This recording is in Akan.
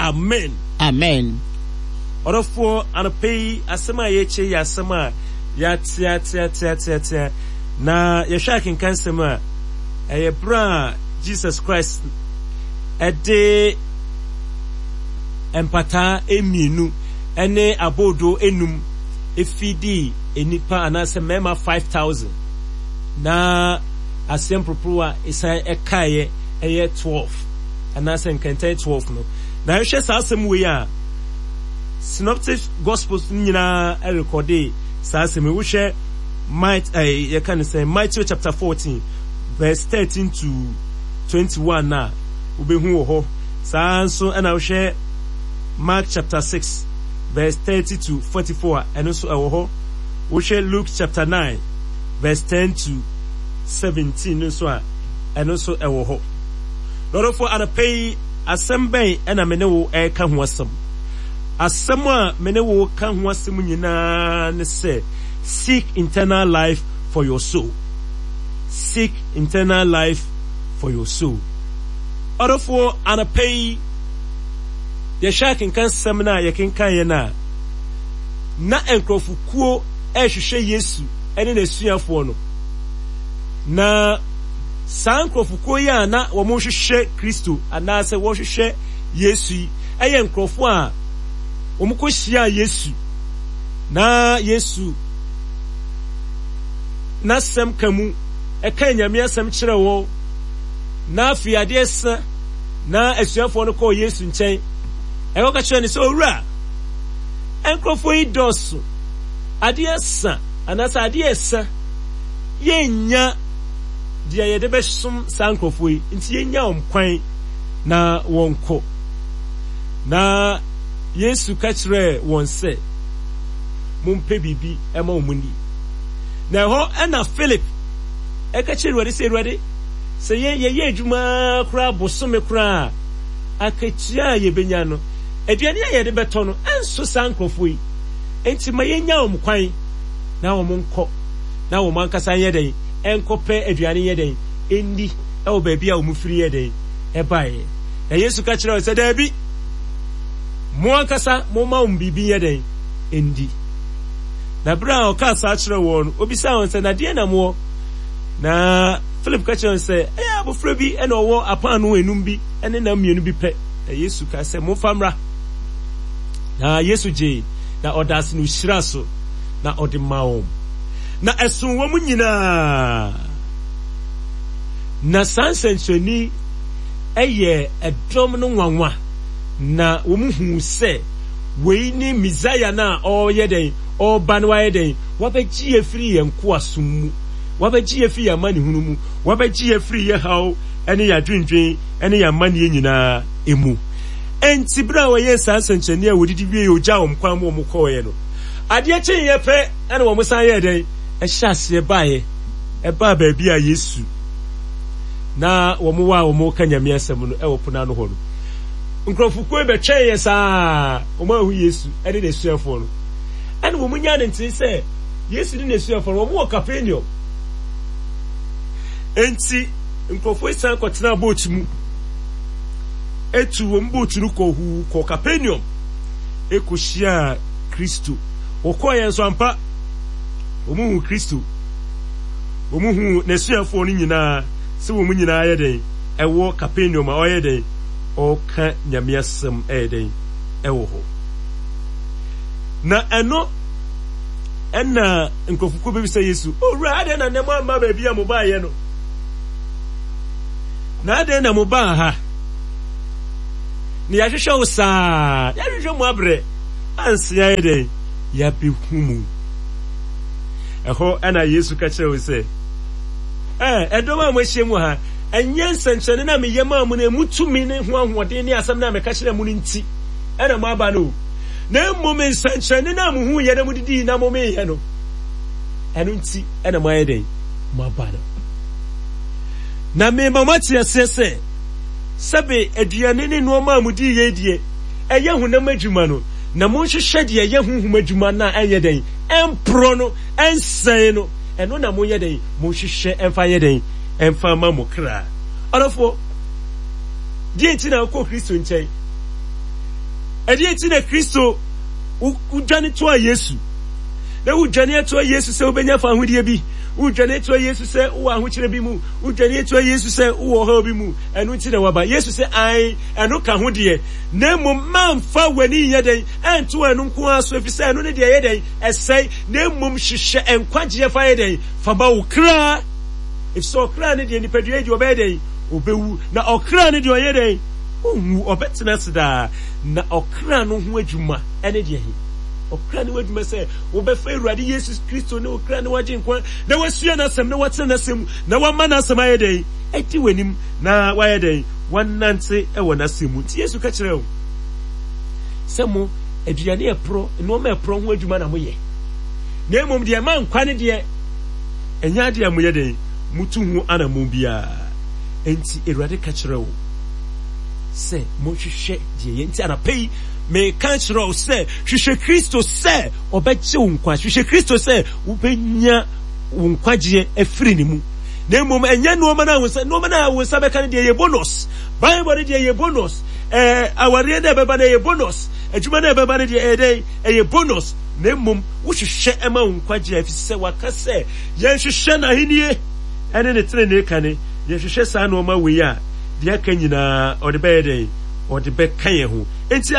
Amen. Amen. Ɔdɔfoɔ, anɔpa yi asɛm a yɛrekyɛ yɛ asɛm a yɛateateateateatea na yɛhwɛ akenkan nsɛm a ɛyɛ berɛ a Jesus Christ ɛde mpataa mmienu ne aboodoo enum efidii nnipa anaasɛ mmarima 5000 na aseɛ mporoporowa esan ɛkaeɛ ɛyɛ 12 anaasɛ nkɛntɛn 12 no. Na yɛhwɛ saa asɛm wei a, Synoptic Gospels no nyinaa rekɔde saa asɛm yi. Wohwɛ Might, eh, yɛka ne sɛ Matthew chapter 14 verse 13 to 21 a, wobɛhu wɔ hɔ. Saa nso ɛna wohwɛ Mark chapter 6 verse 30 to 44 a, ɛno nso ɛwɔ hɔ. Wohwɛ Luke chapter 9 verse 10 to 17 no nso a, ɛno nso ɛwɔ hɔ. Lɔdɔfoɔ, anɔpa yi, asɛm bɛn na me ne wo reka ho asɛm? Asɛm a me ne wo reka ho asɛm nyinaa ne sɛ, seek internal life for your soul. Seek internal life for your soul. Ɔdɔfoɔ, anɔpa yi, yɛhwɛ akenkan sɛm no a yɛkenkan yɛ no a, na nkurɔfokuo rehwehwɛ Yesu ne n'asuafoɔ no. Na Saa nkurɔfokuo yi a na wɔrehwehwɛ Kristo anaasɛ wɔrehwehwɛ Yesu yi yɛ nkurɔfoɔ a wɔkɔhyiaa Yesu na Yesu n'asɛm ka mu ɛka Nyame asɛm kyerɛ wɔn na afei adeɛ sa na asuafoɔ no kɔɔ Yesu nkyɛn ɛkɔka kyerɛ no sɛ owura nkurɔfoɔ yi dɔɔso adeɛ sa anaasɛ adeɛ sa yɛnnya deɛ yɛde bɛsom saa nkurɔfoɔ yi, nti yɛnnya wɔn kwan na wɔnkɔ. Na Yesu ka kyerɛɛ wɔn sɛ, Mompɛ biribi ma wɔn nni. Na ɛhɔ ɛna Philip ɛka kyerɛ Awurade sɛ, Awurade, sɛ yɛn yɛyɛ adwuma koraa bosome koraa a, akatua a yɛbɛnya no, aduane a yɛde bɛtɔ no, ɛnso saa nkurɔfoɔ yi. Enti ma yɛnnya wɔn kwan na wɔn nkɔ, na wɔn ankasa nyɛ dɛn? Nkɔpɛ aduane nyɛ dɛn? Nni wɔ baabi a wɔn firi yɛ dɛn? Ɛbaeɛ. Na Yesu ka kyerɛɛ wɔn sɛ, Daabi, mo ankasa momma wɔn biribi nyɛ dɛn? Ndi. Na berɛ a ɔkaa saa kyerɛɛ wɔn no, ɔbisaa wɔn sɛ, Na deɛn na mowɔ? Na Philip ka kyerɛɛ wɔn sɛ, Ɛyɛ abɔfra bi na ɔwɔ apaanoo enum bi ne nam mmienu bi pɛ. Na Yesu kaa sɛ, Momfa mmra. Na Yesu gyee, na ɔdaa ase na ɔhyiraa so, na ɔde maa wɔn. Na ɛsoo wɔn nyinaa. Na saa nsɛnkyerɛnne yi yɛɛ ɛdɔm no nwanwa, na wɔhuu sɛ wei ne Mesaia no a ɔreyɛ dɛn? Ɔreba no wayɛ dɛn? Wabɛgye yɛn afiri yɛn nkoasom mu, wabɛgye yɛn afiri yɛn amanehunu mu, wabɛgye yɛn afiri yɛn haw ne yɛn adwendwen ne yɛn amanneɛ nyinaa mu. Enti berɛ a wɔyɛɛ saa nsɛnkyerɛnne a wɔdidi wieeɛ, ɔgyaa wɔn kwan ma wɔkɔeɛ no, adeɛ kyeeɛ pɛ, Ɛna wɔn san yɛɛ dɛn? Ɛhyɛ aseɛ baeɛ, ɛbaa baabi a Yesu na wɔn wɔ a wɔn reka Nyame asɛm no ɛwɔ pono ano hɔ no. Nkurɔfokuo yi bɛtwɛn yɛ saa, wɔn anhu Yesu ɛne n'asuafoɔ no. Ɛna wɔn nyaa ne ntee sɛ Yesu ne n'asuafoɔ no wɔn wɔ Capernaum. Enti nkurɔfoɔ yi san kɔtenaa boat mu, etu wɔn boat no kɔ huu kɔ Capernaum, ekohyiaa Kristo. Wɔkɔeɛ nso ampa, wɔhuu Kristo. Wɔhuu n'asuafoɔ no nyinaa sɛ wɔn nyinaa yɛ dɛn? Ɛwɔ Kapernaum a ɔyɛ dɛn? Ɔreka Nyame asɛm ɛyɛ dɛn? Ɛwɔ hɔ. Na ɛno ɛna nkurɔfokuo bɛbisa Yesu, Owura, adɛn na nnɛ moamma baabi a mobaeɛ no? Na adɛn na mobaa ha? Na yɛahwehwɛ wo saa, yɛahwehwɛ mo abrɛ. Ansa yɛayɛ dɛn? Yɛabehu mu. Ɛhɔ na Yesu ka kyerɛɛ wɔn sɛ, Ɛ, ɛdɔm a moahyia mu wɔ ha, ɛnyɛ nsɛnkyerɛnne no a meyɛ maa mo no emu tumi ne ho ahoɔden ne asɛm no a meka kyerɛɛ mo no nti na moaba no o, na mmom nsɛnkyerɛnne no a muhuiɛ na mudidii na momeeɛ no, ɛno nti na moayɛ dɛn? Moaba no. Na mema moate aseɛ sɛ, sɛbe aduane ne nneɛma a mudii yei deɛ, ɛyɛ honam adwuma no, na monhwehwɛ deɛ ɛyɛ honhom adwuma no a ɛnyɛ dɛn? Ɛmporɔ no, ɛnsɛe no, ɛno na monyɛ dɛn? Monhwehwɛ ɛmfa nyɛ dɛn? Ɛmfa mma mo kra. Ɔdɔfoɔ, deɛ nti na wokɔ Kristo nkyɛn? Ɛdeɛ nti na Kristo wodwane toa Yesu? Na wodwane atoa Yesu sɛ wobɛnya fawohodie bi. Wodwane atoa Yesu sɛ wowɔ ahokyerɛ bi mu. Wodwane atoa Yesu sɛ wowɔ ɔhaw bi mu. Ɛno nti na waba. Yesu sɛ, ae, ɛno ka ho deɛ. Na mmom mamfa w'ani nyɛ dɛn ɛnto ɛno nko ara so, ɛfiri sɛ ɛno ne deɛ ɛyɛ dɛn ɛsɛe. Na mmom hwehwɛ nkwagyeɛ fa yɛ dɛn fa ma wo kra. Ɛfiri sɛ ɔkra ne deɛ nipadua yi deɛ ɔbɛyɛ dɛn ɔbɛwu. Na ɔkra ne deɛ ɔyɛ dɛn ɔnwu, ɔbɛtena ase daa. Na ɔkra no ho adwuma ne deɛ he? Ɔkra no ho adwuma sɛ wobɛfa Awurade Yesu Kristo ne wo kra ne w'agyenkwa, na wasua n'asɛm, na watena n'asɛm mu, na wama n'asɛm ayɛ dɛn? Adi w'anim, na wayɛ dɛn? Wanante wɔ n'asɛm mu. Nti Yesu ka kyerɛɛ wɔn sɛ, Mo, aduane a ɛporɔ, nnoɔma a ɛporɔ ho adwuma na moyɛ, na mmom deɛ ɛma nkwa no deɛ, ɛnyɛ adeɛ a moyɛ dɛn? Motu ho anammɔn biara. Enti Awurade ka kyerɛɛ wɔn sɛ, Monhwehwɛ deɛ ɛyɛ. Nti anapa yi, meka kyerɛ wo sɛ, hwehwɛ Kristo sɛ ɔbɛgye wo nkwa. Hwehwɛ Kristo sɛ wobɛnya wo nkwagyeɛ afiri ne mu. Na mmom ɛnyɛ nneɛma no a wo nsa nneɛma no a wo nsa bɛka no deɛ yɛ bonus. Bible no deɛ yɛ bonus. Ɛɛ awareɛ no a ɛbɛba no ɛyɛ bonus. Adwuma no a ɛbɛba no deɛ ɛyɛ dɛn? Ɛyɛ bonus. Na mmom wohwehwɛ ɛma wo nkwagyeɛ ɛfiri sɛ waka sɛ yɛnhwehwɛ n'ahennie ɛne ne tenenee kane. Yɛhwehwɛ saa nneɛma wei a, deɛ aka nyinaa ɔde bɛyɛ dɛn? Ɔde bɛka yɛn ho. Enti.